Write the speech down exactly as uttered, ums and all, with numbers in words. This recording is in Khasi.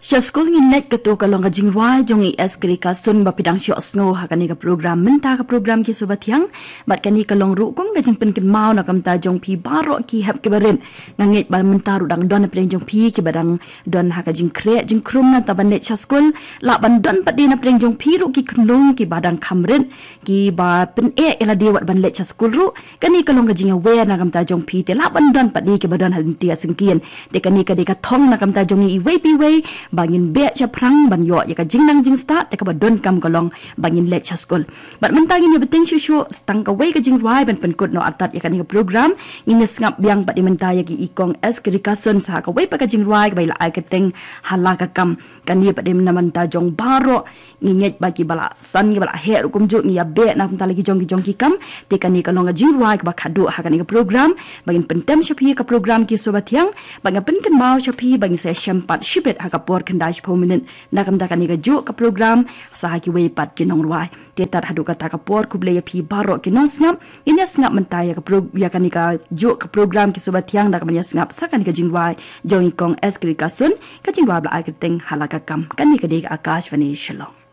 Sha skul ngin leit, kato ka long ka jingrwai jong i S Krikasun ba phi dang shoh sngew ha kane ka program mynta, ka program Ki Suba Thiang. Bad kane ka long ruh kum ka jingpynkynmaw na ka bynta jong phi baroh ki hep ki barit. Nga ngeit ba mynta ruh dang don na pdeng jong phi ki ba dang don ha ka jingkhreh jingkhrum na ta ban leit sha skul. Lah ban don pat de na pdeng jong phi ruh ki khunlung ki ba dang kham rit, ki ba pyneh ïa lade wat ban leit sha skul ruh. Kane ka long ka jingïawer na ka bynta jong phi, te lah ban don pat de ki ba don ha lynti ka syngkien. Te kane ka dei ka thong na ka bynta jong ngi iwei pa iwei ba ngin beh shaphrang ban ïoh ïa ka jingnang jingstad, te ka ba donkam ka long ba ngin leit sha skul. Bad mynta ngin ïa bteng shuh shuh tang kawei ka jingrwai ban pynkut noh artat ïa kane ka program. Ngin ïa sngap biang pat de mynta ïa ki i Kong S Krikasun sa kawei pat ka jingrwai kaba i la ai kyrteng Hala Ka Kam. Kane pat de na ka bynta jong baroh, ngi ngeit ba ki ba la san, ki ba la heh ruh kumjuh, ngi ïa beh na ka bynta la ki jong ki jong ki kam. Te kane ka long ka jingrwai kaba khadduh ha kane ka program. Ba ngin pyntem sha phi ka program Ki Suba Thiang, ba ngin pynkynmaw sha phi ba ngin sa shem pat shibit ha ka por khyndai shiphew minit na ka bynta kane kajuh ka program sa ha kiwei pat ki nongrwai. Te tad haduh kata ka por, khublei ïa phi baroh ki nongsngap. Ngin ïa sngap mynta ïa ka pro-, ïa kane kajuh ka program Ki Suba Thiang da kaba ïa sngap sa kane ka jingrwai jong i Kong S Krikasun, ka jingrwai ba la ai kyrteng Hala Ka Kam. Kane ka dei ka Akashvani Shillong.